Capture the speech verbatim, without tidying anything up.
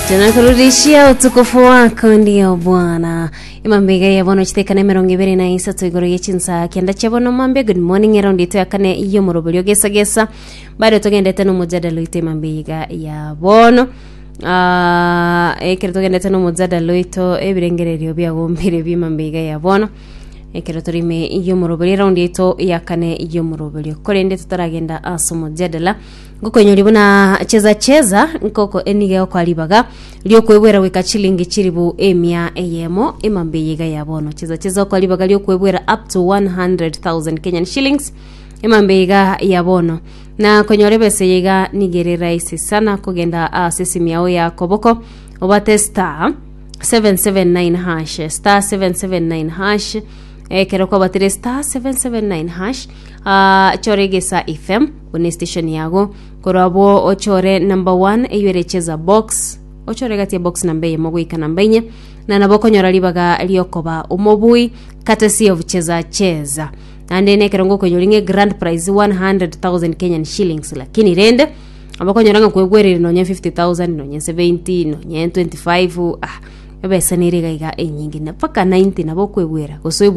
Tunakurudishia utukufu wako ndio Bwana. Imambega ya bono chitekana emerongo ibere na isato igoro ye chinsa kenda chia bono mambe. Good morning. Eraundi ito ya kane iyo moroberio gesa gesa bado togendete no mujadala oito emambega ya bono. Ah, ekero togendete no mujadala oito, ebirengererio biagombire bimambega ya bono ekero torime iyo moroberio eraundi ito ya kane iyo moroberio. Korende tutaragenda ase omojadala, ngokoinyori buna Cheza Cheza nkoko enige okwaribaga riokwebwera goika chilingi chiribu emia eyemo emambe yiga ya bono. Cheza Cheza okwaribaga riokwebwera up to one hundred thousand Kenyan shillings emambe iga ya bono, na konyora ebese yiga nigere rahisi sana. Kogenda ase esimu yao ya koboko, obate star seven seven nine hash, star seven seven nine hash. Ekero kwabatire star seven seven nine hash, uh, chore Gesa F M buna station yago. Korwa ochore number one eyo ere Cheza Box, ochore gati ya box namba eyemo goika namba inye, na nabo okonyora ribaga riokoba omobui courtesy of Cheza Cheza. Naende nekero ngokonyora ng'e grand prize one hundred thousand Kenyan shillings, lakini rende abakonyora ng'a kwegwerire nonye fifty thousand, nonye seventy, nonye twenty-five, ah, ebesa nere iga iga enyinge na mpaka ninety nabo okwegwera gose oebwere.